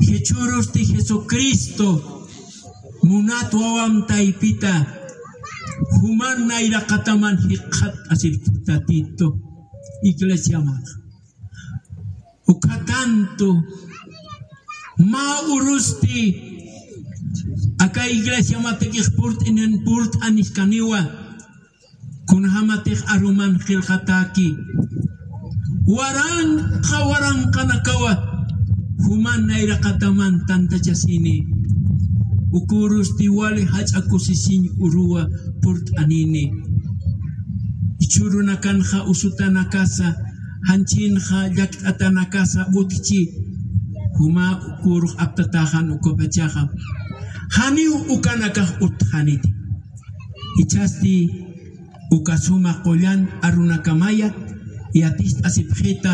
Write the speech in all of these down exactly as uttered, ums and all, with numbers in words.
Jichhürusti Jesucristo munat wawam taypita, juman nayraqataman jikxat'asipti Tatitu iglesiamanxa. Uka tanto mä urusti aka iglesiamatakix purt'anin purt'aniskaniwa. Kunjamatix aruman qillqatäki, waranqa waranqanakawa juman nayraqataman tantachasini. Uka urusti wali jach'a kusisiñ uruwa purt'anini. Jichhürunakanxa usutanakasa, janchinxa llakt'atanakasa utjchi, juma uka urux aptatäxan ukapachaxa janiw ukanakax utjxaniti. Jichhasti uka suma qullan arunakamaya yatist'asipxita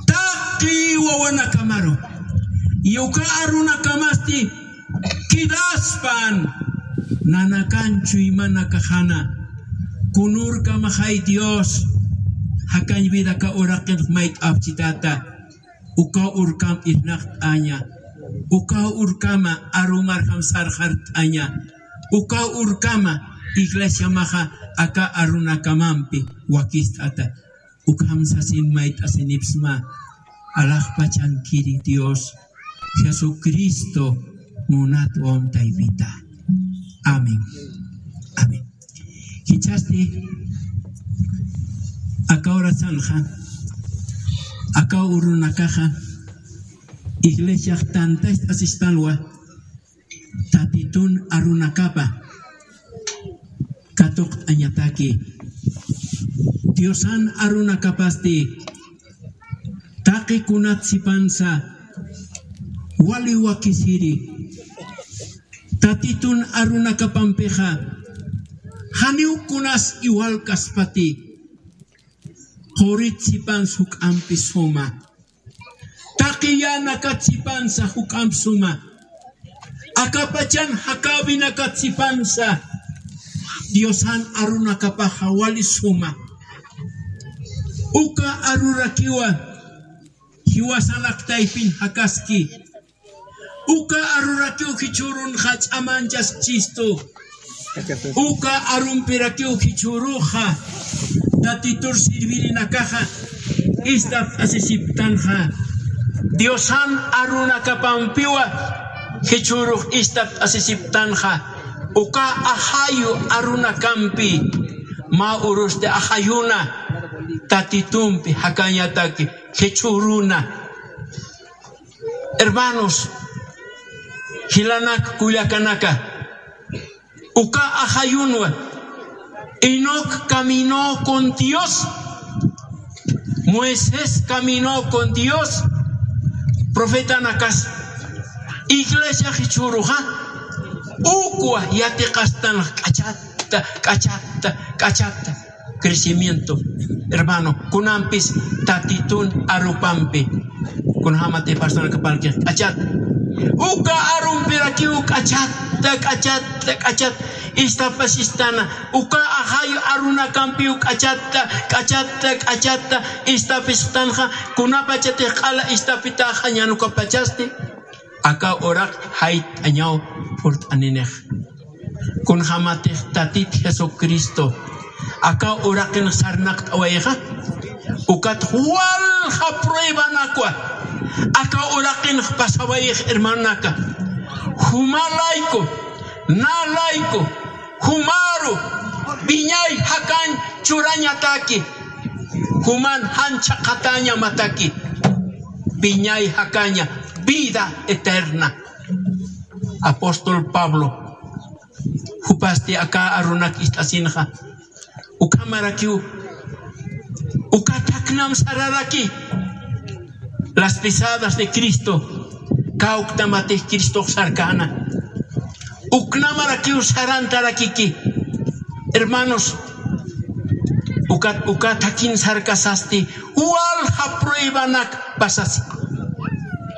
taqi wawanakamaru. Y uka arunakamasti quedaspan, nanakan chuymanakaxana. Kunürkamaxay Dios, jakañ vidaka uraqinx mayt'apchitata. Uka urkam irnaqt'aña, uka urkama arumarjam sarxart'aña, uka urkama iglesiamaxa aka arunakamampi wakist'ata. Ukham sasin mayt'asinipsma, alaxpachankiri Dios, Jesucristo munat wawam taypita. Amén. Amén. Jichhasti aka horasanxa, aka urunakaxa iglesiax tantacht'asispanwa, Tatitun arunakapa katuqt'añataki. Diosan arunakapasti taqi kunat sipansa wali wakisiri. Tatitun arunakapampixa janiw kunas iwalkaspati, qurit sipans juk'ampi suma, taqi yänakat sipansa juk'amp suma, akapachan jakäwinakat sipansa Diosan arunakapaxa wali suma. Uka arurakiwa jiwasanak taypin jakaski. Uka arurakiw jichhürunxa ch'amanchaschistu. Uka arumpirakiw jichhüruxa Tatitur sirvirinakaxa ist'apt'asisiptanxa. Diosan arunakapampiwa jichhürux ist'apt'asisiptanxa. Uka ajayu arunakampi mä urusti ajayuna Tatitumpi jakañataki jichhüruna. Hermanos, jilanak kullakanaka, uka ajayunwa, Enoc caminó con Dios, Moisés caminó con Dios, profetanakas, iglesia jichhüruxa, ukwa yatiqastan k'achatta, k'achatta, k'achatta. Crecimiento. Hermano, kunampis Tatitun arupampi, kunjamati personakapanki k'achat, uka arumpirakiw k'achatta, k'achatta, k'achat istapasistana. Uka ajayu arunakampiw k'achatta, k'achatta, k'achatta istapisistanxa, kunapachatix q'ala istapitaxa ñanukapachasti. Aka uraq jayt'añaw purt'aninix. Kunjamatix Tatit Jesucristo aka uraqin sarnaqt'awayxa, ukat walja pruebanakwa aka uraqin pasawayx, hermanonaka. Jumalayku, nalayku, jumaru wiñay jakañ churañataki. Juman jan chhaqhatañamataki, wiñay jakaña, vida eterna. Apóstol Pablo jupasti aka arunak ist'asinxa, ukhamarakiw, uka thaknam sararaki. Las pisadas de Cristo, kawktamatix Cristox sarkäna. Uknamarakiw sarantarakiki. Hermanos, ukat, ukat jakin sarkasasti, walja pruebanak pasasi.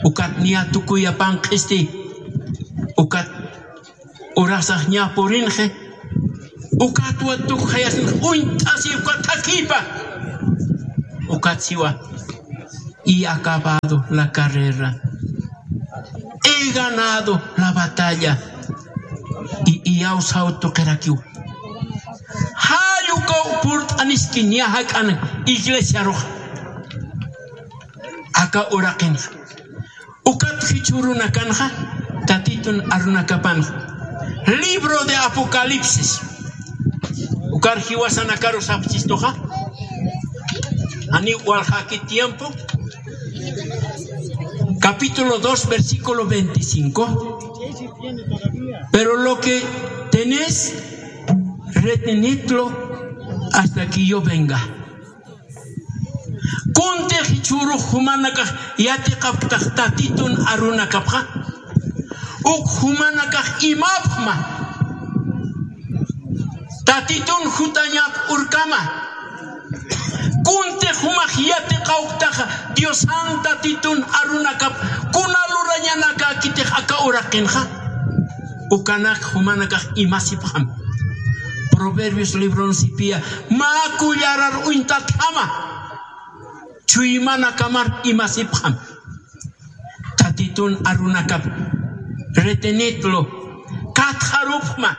Ukat niya tukuyapan q'isti. Ukat urasax ña purinxi. Ukatwa tukjayasin uñt'asi ukat jakipa. Ukat siwa, y acabado la carrera. ganado la batalla. Y, iyawsaw tuqirakiw. Jall ukaw purt'aniski niya jak'an iglesiarux. Aka uraqinxa. Ukat jichhürunakanxa, Tatitun arunakapanxa. Libro de Apocalipsis. Ukar jiwasanakaru sapxistuxa. Janiw walxaki tiempo. Capítulo dos, versículo veinticinco. Pero lo que tenéis, retenedlo hasta que yo venga. Kuntix jichhürux jumanakax yatiqapktax Tatitun arunakapxa. Uk jumanakax imapxma. Tatitun jutañap urkama. Kuntix jumax yatiqawktaxa Diosan Tatitun arunakap kuna lurañanakakitix aka uraqinxa. Ukanak jumanakax imasipxam. Proverbios libron sipiya, mä kullarar uñtatjama. Chuymanakamar imasipxam. Tatitun arunakap retenedlo, katxarupxma.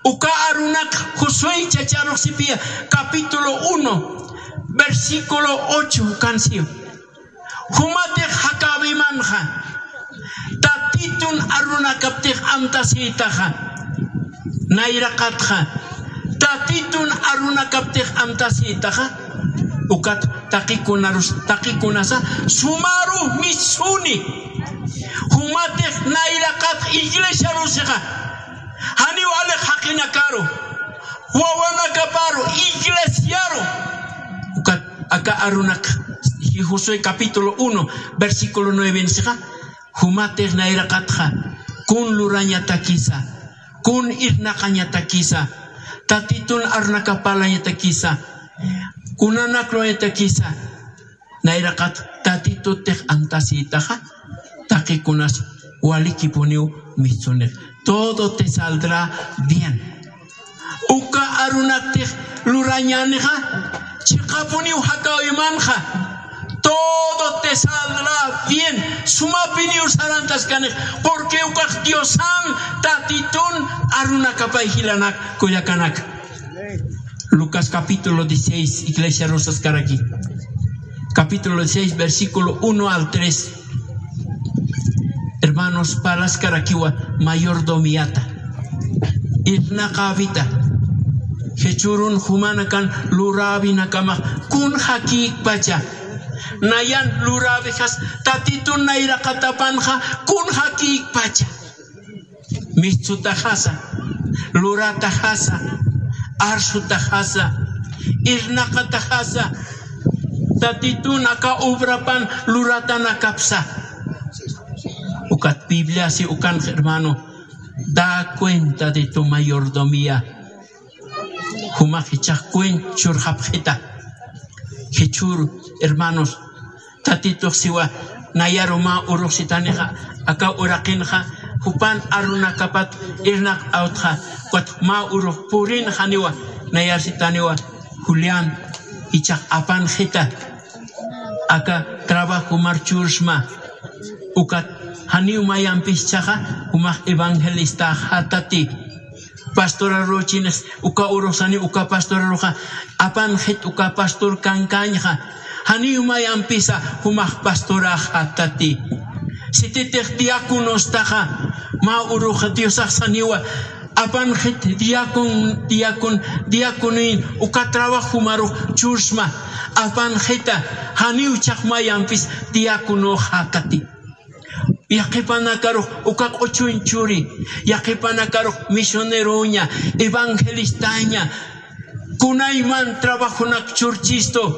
Uka arunak Josué chacharux sipiya, capítulo uno, versículo ocho, ukan siw. Jumatix jakäwimanxa, Tatitun arunakaptix amtasïtaxa, nayraqatxa, Tatitun arunakaptix amtasïtaxa, ukat taqikunarus, taqikunasa, sumaru mistuni, jumatix nayraqat iglesiarusixa, janiw alix jaqinakaru, wawanakaparu, iglesiaru. Ukat aka arunak, Josué capítulo uno, versículo nueve nisixa, jumatix nayraqatxa, kun lurañatakisa, kun irnaqañatakisa, Tatitun arunakap parlañatakisa, kunanak lurañatakisa, nayraqat Tatitutix amtasïtaxa, taqikunas walikipuniw mistunix. Todo te saldrá bien. Uka arunaktix lurañänixa, chiqapuniw jakäwimanxa. Todo te saldrá bien. Sumapiniw sarantaskanix. Porque ukax Diosan Tatitun arunakapay jilanak, kullakanaka. Lucas capítulo dieciséis, iglesiarus saskaraki. Capítulo dieciséis, versículo uno al tres. Hermanos, parlaskarakiwa mayordomiata. Irnaqäwita. Jichhürun jumanakan luräwinakamax kun jakïkpacha. Nayan luräwixas Tatitun nayraqatapanxa kun jakïkpacha. Mistsutaxasa, lurataxasa, arsutaxasa, irnaqataxasa, Tatitun aka obrapan luratanakapsa. Ukat Bibliasi ukanx, hermano, da cuenta de tu mayordomía. Jumax jichhax cuenta churxapxita. Jichhür, hermanos, Tatitux siwa, nayaru mä urux sitanixa, aka uraqinxa, jupan arunakapat irnaqawtxa, ukat mä urux purinxaniwa, nayar sitaniwa, Julián, jichhax apanxita, aka trabajomar chursma, ukat janiw mayampis jichhaxa, jumax evangelistaxätati. Pastoraruchinix, uka urux sani, uka pastoraruxa, apanxit uka pastor kankañxa, janiw mayampisa jumax pastoraxätati. Sititix diáconostaxa, mä urux Diosax saniwa, apanxit diacon, diacon, diaconoin uka trabajomarux chursma, apanxita, janiw jichhax mayampis diaconoxätati. Yaqhipanakarux uka q'uchuñ churi, yaqhipanakarux misioneroña, evangelistaña, kunayman trabajonak churchistu.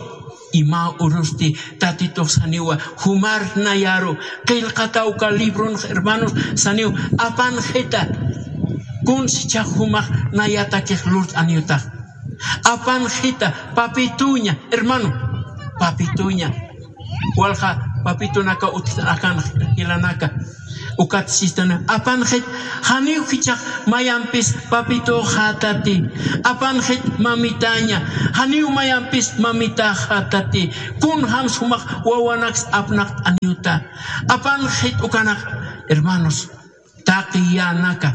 Y mä urusti Tatitux saniwa, jumar nayaru, qillqata uka libronx, hermanos, saniw, apanxita, kuns jichhax jumax nayatakix lurt'aniyutax. Apanxita, papituña, hermano, papituña. Walja papitunaka utjt'akanxa jilanaka. Ukat sistana, apanxit, janiw jichhax mayampis papituxätati. Apanxit mamitaña, janiw mayampis mamitaxätati. Kunjams jumax wawanaks apnaqt'aniyuta. Apanxit ukanak, Hermanos, taqi yänaka,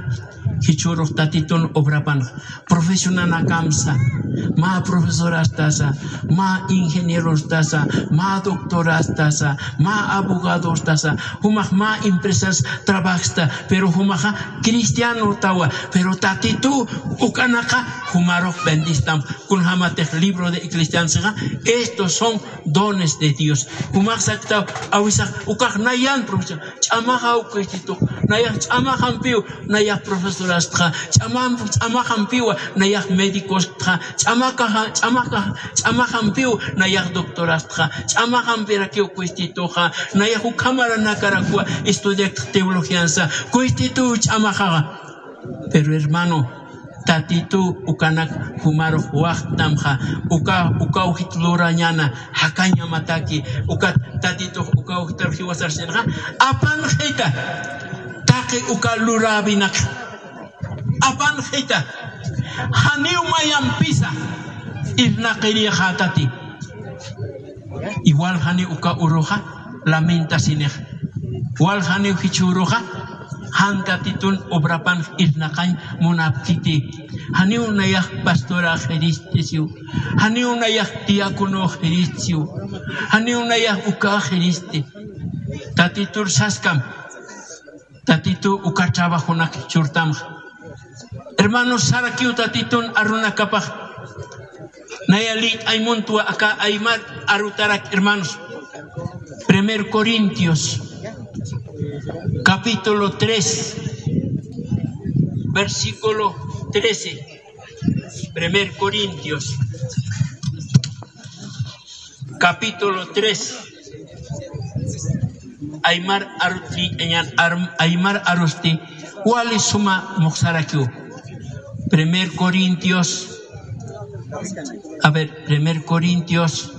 jichhürux Tatitun obrapanxa, profesionanakamsa, mä profesorastasa, mä ingenierostasa, mä doctorastasa, mä abogadostasa, jumax mä empresas trabajsta, pero jumaxa cristianotawa, pero Tatitu ukanaka jumarux bendistam, kunjamatix libro de Eclesiástesxa, estos son dones de Dios. Jumax saktaw, awisax, ukax nayan profesión. Ch'amaxaw Cristitux, nayax ch'amaxampiw, nayax profesorastxa, ch'amam-, ch'amaxampiwa, nayax médicostxa, ch'amakaxa, ch'amakaxa, ch'amaxampiw, nayax doctorastxa, ch'amaxampirakiw Cristituxa, nayax ukhamaranakarakwa estudiaktx teologiansa, Cristituw ch'amaxaxa. Pero hermano, Tatitu ukanak jumarux waxtamxa, uka, ukaw jit lurañäna, jakañamataki, ukat Tatitux ukaw jitar jiwasarsinxa, apanxita, taqi uka luräwinak, apanxita, janiw mayampisa irnaqirïxätati. Igual janiw uka uruxa lamentasinix. Igual janiw jichhüruxa, jan Tatitun obrapan irnaqañ munapkiti. Janiw nayax pastora jiristi siw. Janiw nayax diácono jiristi siw. Janiw nayax uka jiristi. Tatitur saskam. Tatitu uka trabajonak churtamxa. Hermanos, sarakiw Tatitun arunakapax. Naya lït'añ muntwa aka aymar arutarak, hermanos. Primer Corintios, capítulo tres, versículo trece. Primer Corintios, capítulo tres. Aymar arut lït'añan, ar-, aymar arusti, wali suma muxsarakiw. Primer Corintios, a ver, Primer Corintios,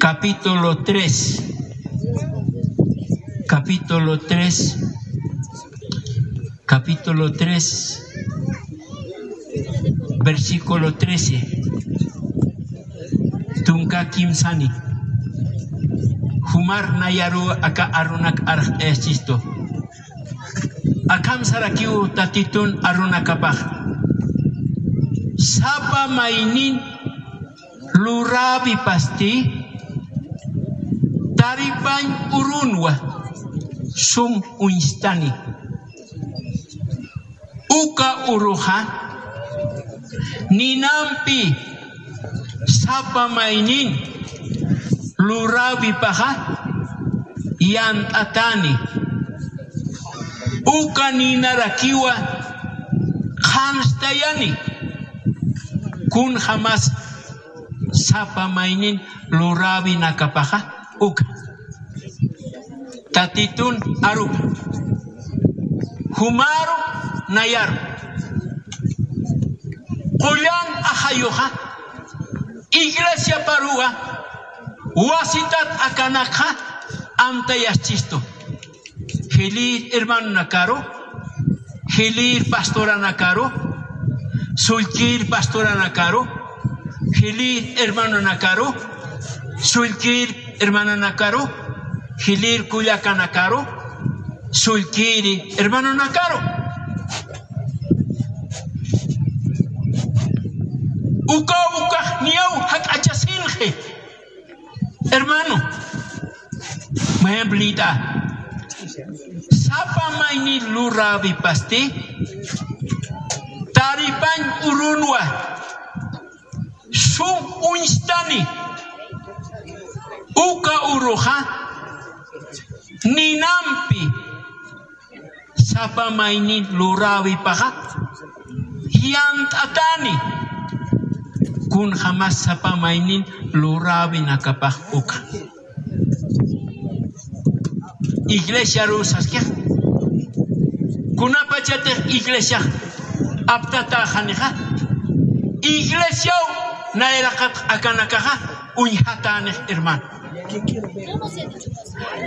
capítulo tres, capítulo tres, capítulo tres, versículo trece. Tunka kimsani. Jumar nayaru aka arunak arxt'ayachistu. Akham sarakiw Tatitun arunakapax. Sapa maynin luräwipasti taripañ urunwa sum uñstani. Uka uruxa ninampi sapa maynin luräwipaxa yant'atäni. Uka ninarakiwa qhanstayani. Kunjamas sapa maynin luräwinakapaxa uka. Tatitun arupa. Jumaru nayaru. Qullan ajayuxa iglesiaparuwa wasitat akanakxa amtayaschistu. Jilïr hermanonakaru, jilïr pastoranakaru, sullkïr pastoranakaru, jilïr hermanonakaru, sullkïr hermanonakaru, jilïr kullakanakaru, sullkïri hermanonakaru. Ukaw ukax niyaw jak'achasinxi. Hermano, mayamp lït'a. Sapa mayni luräwipasti taripañ urunwa sum uñstani. Uka uruxa ninampi sapa maynin luräwipaxa yant'atäni. Kunjamas sapa maynin luräwinakapax uka. Iglesiaru saskix. Kunapachatix iglesiax aptatäxanixa, iglesiaw nayraqat akanakaxa uñjatänix, hermano.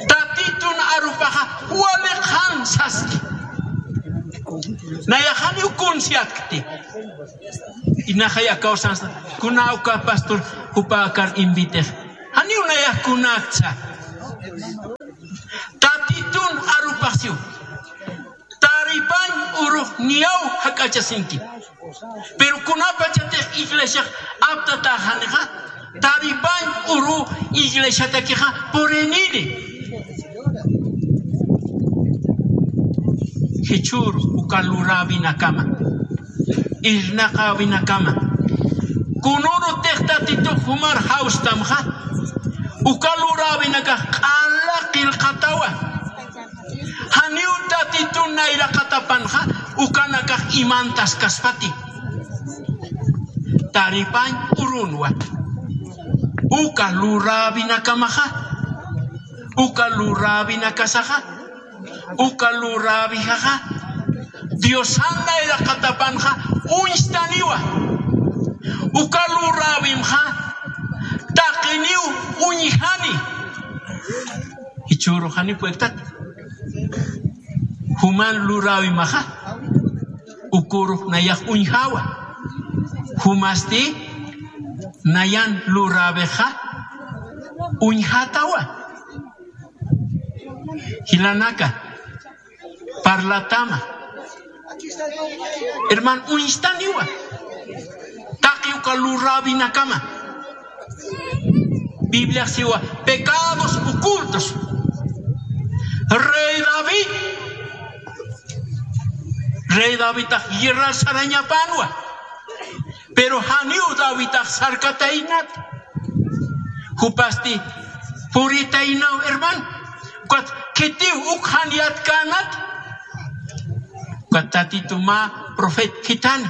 Tatitun arupaxa wali qhan saski. Nayax janiw kunsiatkti. Inaxay akaw sansa, kuna uka pastor jupa akar invitix. Janiw nayax kunaktsa. Tatitun arupax siw. Taripañ urux niyaw jak'achasinki. Pero kunapachatix iglesiax aptatäxanixa, taripañ uru iglesiatakixa puriniri. Jichhür uka luräwinakama, irnaqäwinakama, kunürutix Tatitux jumar jawstamxa, uka luräwinakax q'ala qillqatawa. Janiw Tatitun nayraqatapanxa, ukanakax imantaskaspati. Taripañ urunwa. Uka luräwinakamaxa, uka luräwinakasaxa, uka luräwixaxa, Diosan nayraqatapanxa uñstaniwa. Uka luräwimxa taqiniw uñjani. Jichhüru jani puertat. Juman luräwimaxa, ukürux nayax uñjawa. Jumasti nayan luräwixa uñjatawa. Jilanaka, parlatama. Hermano, uñstaniwa. Taqi uka luräwinakama. Bibliax siwa, pecados ocultos. Rey David. Rey Davidtax guerrar sarañapanwa. Pero janiw Davidtax sarkataynat. Jupasti puritaynaw, hermano. Ukat khitiw uk jan yatkänat. Ukat Tatitu mä profeta khithan.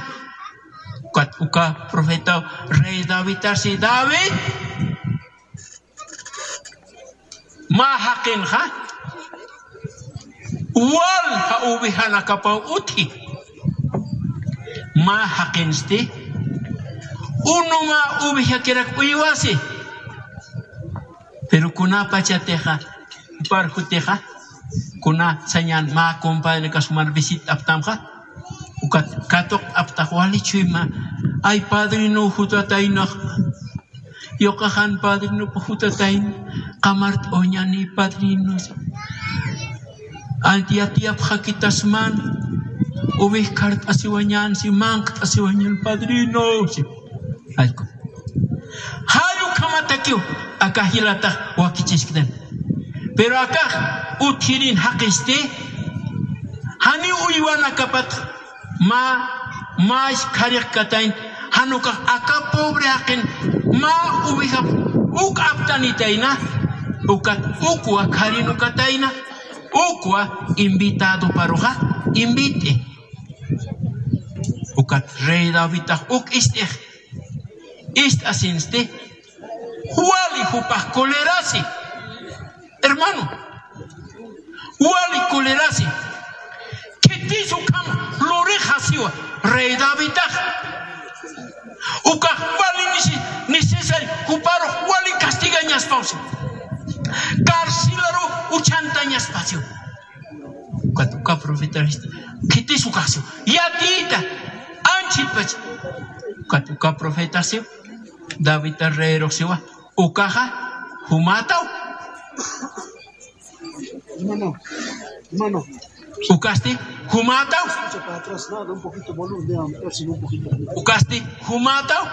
Ukat uka profetaw rey Davidtasi, David, mä jaqinxa walja ovejanakapaw utji. Mä jaqinsti unu mä ovejakirak uywasi. Pero kunapachatixa, jupar jutixa, kuna sañan mä compadrenakas jumar visit'aptamxa, ukat katuqt'aptax wali chuyma, ay padrino jutataynax, yuqaxan padrinop jutatayn, qamart'awañäni padrino. Anti yatiyapxakitasman, uwij khart'asiwañän, si manqt'asiwañän padrino, si. Allku. Jall ukhamatakiw, akax jilatax wakichisktan. Pero akax utjirin jaqisti, janiw uywanakapat mä, mä khariqkatayn, jan ukax aka pobre jaqin mä uwijap uk aptanitayna, ukat ukwa kharinukatayna, ukwa invitadoparuxa invit'i. Ukat rey Davidtax uk ist'ix, ist'asinsti, wali jupax colerasi. Hermano, wali colerasi. Khitis ukham lurixasiwa rey Davidtax. Ukax wali nisi-, necesario, juparux wali castigañaspawsi. Carcelaru uchantañaspasiwa. Ukat uka profeta, khitis ukaxsiwa. Yatiyta, anchhitpach. Ukat uka profetasiwa, Davidta reyrux siwa. Ukaxa jumätaw. Hermano, hermano. Ukasti jumätaw. Escucha para atrás, nada, un poquito volumen, déjame ver si un poquito. Ukasti jumätaw.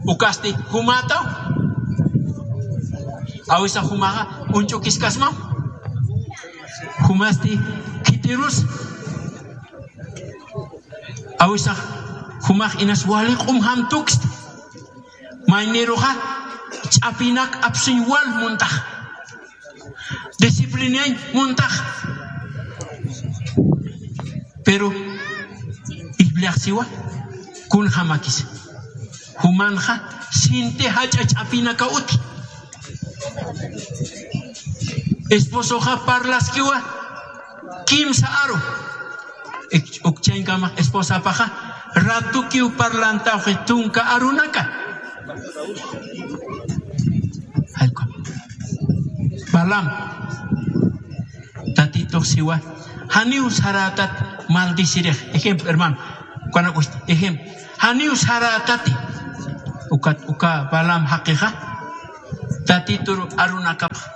Ukasti jumätaw. Awisa jumaxa uñch'ukiskasma. Jumasti khitirus. Awisa jumax inas wali q'umjam tukst. Mayniruxa ch'apinak apsuñ wal muntax. Disciplinañ muntax. Pero Bibliax siwa, kunjamakis. Jumanxa sinti jach'a ch'apinaka utji. Esposoxa parlaskiwa kimsa aru. Ik-, ukchañkamax esposapaxa ratukiw parlantawxi tunka arunaka. Jallku. Balaam. Tatitux siwa, janiw sarätat maldecirix. Ejemplo, hermano. Ukanak usti. Ejemplo. Janiw sarätati. Ukat, uka Balaam jaqixa. Tatitur arunakapxa.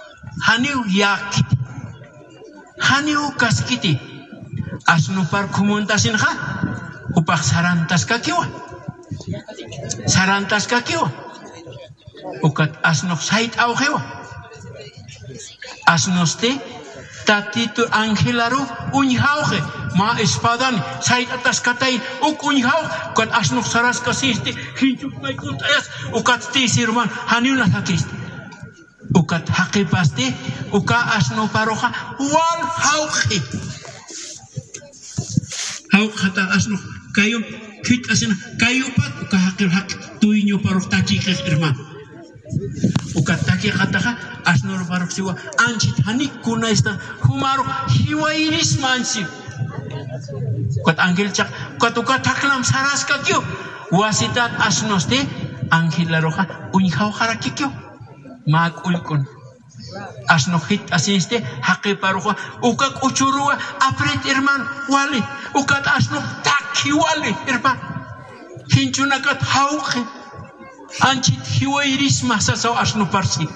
Janiw yäkiti. Janiw kaskiti, asnupar khumuntasiñxa, jupax sarantaskakiwa. Sarantaskakiwa. Ukat asnux sayt'awxiwa. Asnusti Tatitu angelaru uñjawxi, mä espadani sayt'ataskatay, uk uñjawxi, ukat asnux saraskasisti, jinchuk may kunt'ayas, ukat tï sirman, janiw nasakisti. Ukat jaqipasti, uka asnuparuxa, wal jawq'i. Jawq'ata asnux, kayum, khit'asina, kayupat, uka jaqir jaq, dueñoparux takixix, hermano. Ukat takixataxa, asnuruparux siwa, anchhit janik kunaysta, jumarux, jiwayirisma anchhit. Ukat angel chaq, ukat, ukat thaknam saraskakiw, wasitat asnusti, angelaruxa, uñjawxarakikiw. Mä k'ullk'un. Asnux jit'asisti, jaqiparuxa, uka k'uchuruwa, aprit, hermano, wali, ukat asnux takhi wali, hermano. Jinchunakat jawq'i, anchhit jiwayirisma sasaw asnuparsi.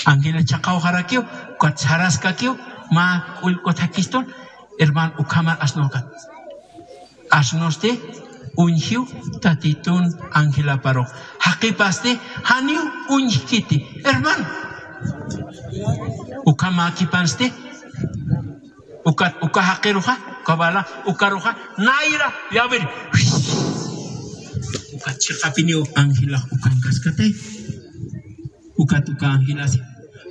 Angela chaqawxarakiw, ukat saraskakiw, mä k'ullk'u thakistun, hermano, ukhamar asnukat. Asnusti uñjiw Tatitun angelaparux. Jaqipasti janiw uñjkiti, hermano. Ukhamakipansti, ukat, uka jaqiruxa, uka bala, ukaruxa, nayra, yawir. Ukat chiqapiniw angelax ukankaskatay. Ukat uka angelasi,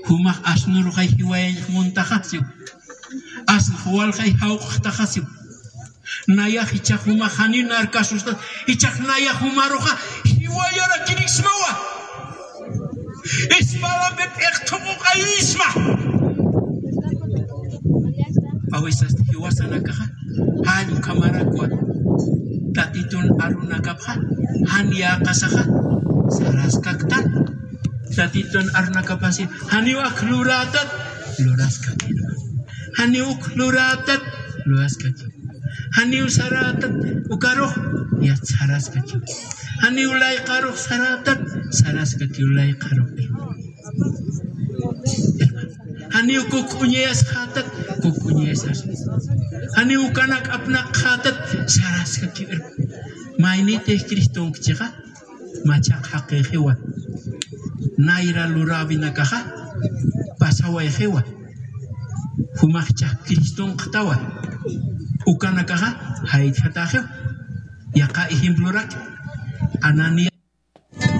jumax asnuruxay jiwayañax muntaxasiw. Asnux walxay jawq'taxasiw. Nayax jichhax jumax janiw narkasustat, jichhax nayax jumaruxa jiwayarakiriksmawa. Espadampi p'iqthuquqayisma. Awisasti jiwasanakaxa, jall ukhamarakwa. Tatitun arunakapxa, jan yäqasaxa, saraskaktan. Tatitun arunakapasi, janiw ak lurätat, luraskaktan. Janiw uk lurätat, luraskaktan. Janiw sarätat, ukarux, yat saraskaktan. Janiw layqarux sarätat, saraskaktan layqarux. Janiw kuk'uñayasxätat, kuk'uñayasxätat. Janiw ukanak apnaqxätat, saraskaktan. Mayniti Cristonkchixa, machaq jaqixiwa. Nayra luräwinakaxa, pasawayxiwa. Jumax chaq Cristonqtawa. Ukanakaxa, jaytjatäxiwa. Yaqha ejemplorak, Ananías